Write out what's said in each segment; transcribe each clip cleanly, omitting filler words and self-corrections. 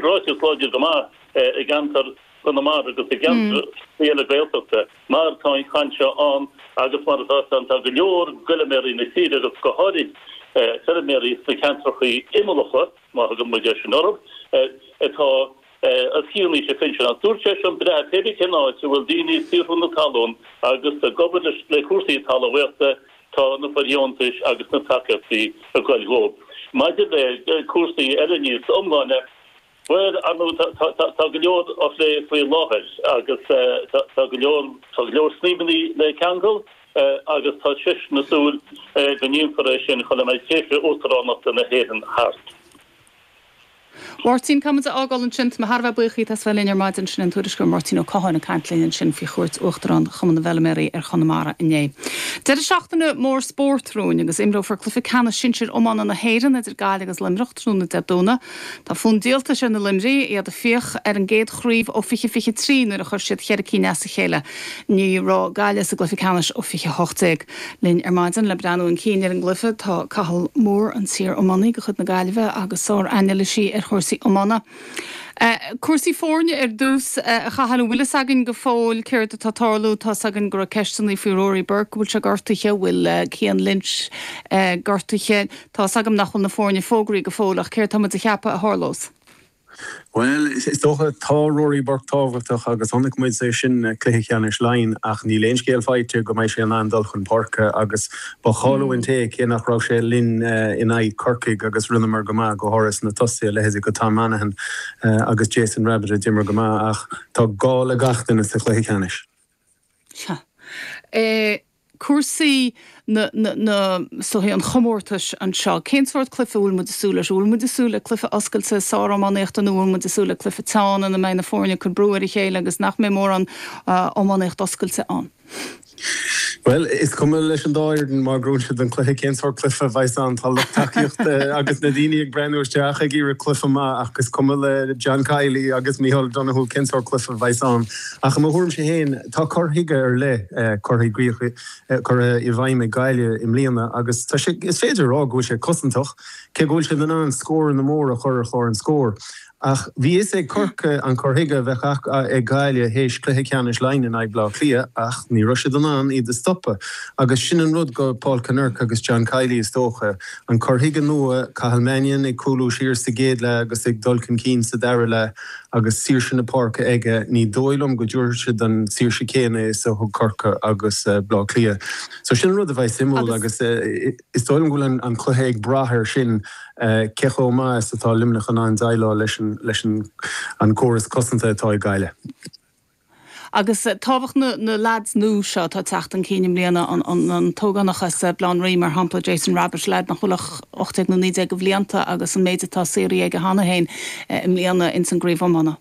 ráiteas láidir go maith i gceantar Chonamara agus i gceantair eile Gaeltachta mar tá an chaint seo ann agus mar atá ann tá go leor d'fheilméaraí na tíre agus go háirid feilméaraí sna ceantrachaí imeallacha, má thugann muid é sin orthu, atá os cionn aois phinsin. Ach dúirt sé sin breá, pé bith cén áit a bhfuil daoine ag saothrú na talún agus ag obair le cúrsaí talmhaíochta, tá na fóirdheontais agus na tacaíochtaí ag goil dhóibh. Maidir le cúrsaí eile níos iomláine, bhuel, ar ndóigh, tá go leor á phlé faoi láthair agus tá go leor, tá go leor snaidhmeanna le ceangal agus tá seisean ag súil go ndéanfar é sin chun a mbeidh tréimhse uachtaránachta na hÉireann thart. Mháirtín, caithfidh muid a fhágáil ansin. Tá mé thar a bheith buíoch díot as bheith linn ar maidin. Sin an tuairisceoir Máirtín Ó Catháin ag caint linn ansin faoi chuairt Uachtarán Chumann na bhFeilméaraí ar Chonamara inné. Deireadh seachtaine mór spóirt romhainn agus imreofar cluiche ceannais sinsir iomána na hÉireann idir Gaillimh agus Luimneach tráthnóna Dé Domhnaigh. Tá fonn díoltais ar na Luimnigh, iad ag fiach ar an gcéad chraobh ó 2023 nuair a chuir siad cheithre cinn as a chéile. Ní raibh Gaillimh sa gcluiche ceannais ó 2018. Linn ar maidin le breathnú chun cinn ar an gcluiche tá Cathal Moore, an t-iar-iománaí de chuid na Gaillimhe agus sár-anailísí ar chúrsaí iomána. Cúrsaí foirne ar dtús, a Chathail, an bhfuil fhios againn go fóill céard atá ag tarlú? Tá's againn go raibh ceisteanna faoi Rory Burke, go bhfuil sé gortaithe, an bhfuil Cian Lynch gortaithe. Tá's agam nach bhfuil na foirne fógraithe go fóill ach céard tá muid a cheapadh a tharlós? Bhuel, is dócha, tá Rory Burke tábhachtach agus chonaic muid é sin i gcluiche ceannais Laighean ach níl aon scéal faighte go mbeidh sé in ann dul chun páirce agus ba chailliúint é cé nach raibh sé linn in aghaidh Corcaigh agus rinneamar go maith, go háirithe sna tosaithe, leithéidí de Tom Monaghan agus Jason Rabbitte a d'imir go maith ach tá gá le gach duine sa chluiche ceannais. Sea. Cúrsaí na, na, na, is dóichí an chomórtais anseo, cén sórt cluife a bhfuil muid ag súil leis? An bhfuil muid ag súil le cluife oscailte sár-iománaíochta nó an bhfuil muid ag súil le cluife teann ina mbeidh na foirne ag cur brú ar a chéile agus nach mbeidh mórán iománaíocht oscailte ann? Bhuel, is cuma leis an dá fhoireann má ghnóthaíonn siad an cluiche cén sórt cluife a bheas ann. Tá lucht tacaíochta agus na daoine ag breathnú isteach ag iarraidh cluife maith ach is cuma le John Kiely agus Micheál Donoghue cén sórt cluife a bheas ann. Ach i mo thuairimse féin, tá cur chuige ar leith curtha i gcrích, curtha i bhfeidhm ag Gaillimh i mbliana agus tá sé, is féidir a rá go bhfuil sé cosantach, cé go bhfuil siad in ann scóranna móra a chur ar chlár an scóir. Ach bhí fhios ag Corcaigh an cur chuige a bheadh ag Gaillimh théis cluiche ceannais Laighean in aghaidh Bleá Cliath ach ní raibh siad in ann iad a stopadh. Agus sin an rud do Paul Kinnerk agus John Kiely is dócha, an cur chuige nua, Cathal Mannion ag cúlú siar sa gcéad leath agus ag dul chun cinn sa dara leath, Agus saoirse na páirce aige, ní dóigh liom go dtabharfaidh siad an saoirse céanna is a thug Corcaigh agus Bleá Cliath. So sin an rud a bheidh suimiúil agus is dóigh liom go bhfuil an cluiche ag brath air sin, cé chomh maith is atá Luimneach in ann déileáil leis an córas cosanta atá ag Gaillimh. Agus tábhacht na na leaids nua seo atá ag teacht chun cinn i mbliana, an t-ógánach as Baile Átha an Rí mar shampla, Jason Rabbitte, leaid nach bhfuil ach 18 nó 19 de bhlianta agus an méid atá saothraithe aige cheana féin i mbliana ins an gcraobh iomána.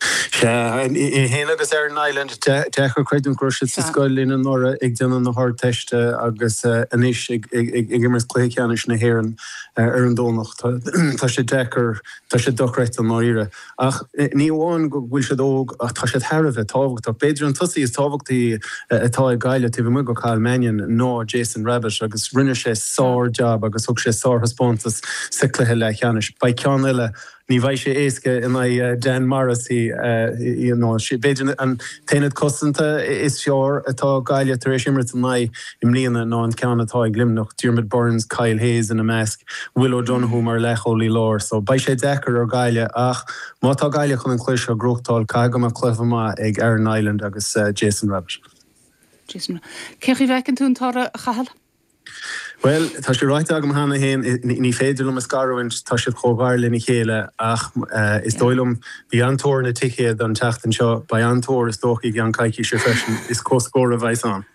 Sea, é féin agus Aaron Niland, deacair creidiúint go raibh siad sa scoil linn anuraidh ag déanamh na hArdteiste agus anois ag imirt cluiche ceannais na hÉireann ar an Domhnach. Tá sé deacair, tá sé dochreidte i ndáiríre. Ach ní amháin go bhfuil siad óg ach tá siad thar a bheith tábhachtach. B'fhéidir an tosaí is tábhachtaí atá ag Gaillimh taobh amuigh de Cathal Mannion ná Jason Rabbitte agus rinne sé sár-jab agus thug sé sárthaispeántas sa chluiche leathcheannais. Beidh ceann eile, ní bheidh sé éasca in aghaidh Dan Morrissey. B'fhéidir an t-aonad cosanta is fearr atá Gaillimh tar éis imirt in aghaidh i mbliana ná an ceann atá ag Luimneach, Diarmaid Byrnes, Kyle Hayes ina measc. Will O'Donoghue mar leathchúlaí láir so beidh sé deacair ar Ghaillimh ach má tá Gaillimh chun an cluiche seo a ghnóthachtáil caithfidh go mbeadh cluiche maith ag Aaron Niland agus Jason Rabbitte. Jason Cén chaoi a bhfeiceann tú an toradh, a Chathail? Bhuel, tá sé ráite agam cheana féin, ní féidir liom a scarúint, tá siad chomh gar lena chéile ach is dóigh liom, bhí an-tóir ar na ticéid an tseachtain seo, beidh an-tóir is dócha i gceann coicíse freisin, is comhscór a bheas ann.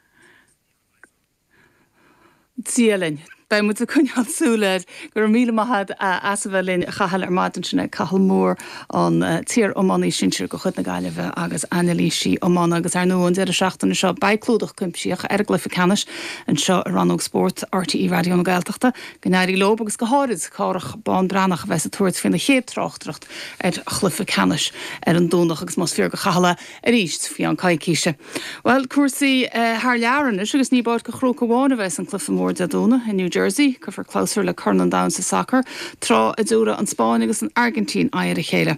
Dia linn. Beidh muid ag coinneáil súil air. Go raibh míle maith agat as a bheith linn, a Chathail, ar maidin. Sin é Cathal Moore, an t-iar-iománaí sinsir de chuid na Gaillimhe agus anailísí iomána. Agus ar ndóigh, an deireadh seachtaine seo, beidh clúdach cuimsitheach ar an gcluiche ceannais anseo i rannóg spóirt RTÉ Raidió na Gaeltachta. Go n-éirí leo agus go háirid Cárthach Bán Breathnach a bheas ag tabhairt faoina chéad tráchtaireacht ar chluiche ceannais ar an Domhnach. Agus más fíor do Chathal é, arís faoi cheann coicíse. Bhuel, cúrsaí thar lear anois agus ní i bPáirc an Chrócaigh amháin a bheas an cluiche mór Dé Domhnaigh i New Jersey. Cuirfear clabhsúr le Corn an Domhain sa sacar, tráth a dtabharfaidh an Spáinn agus an Airgintín aghaidh ar a chéile.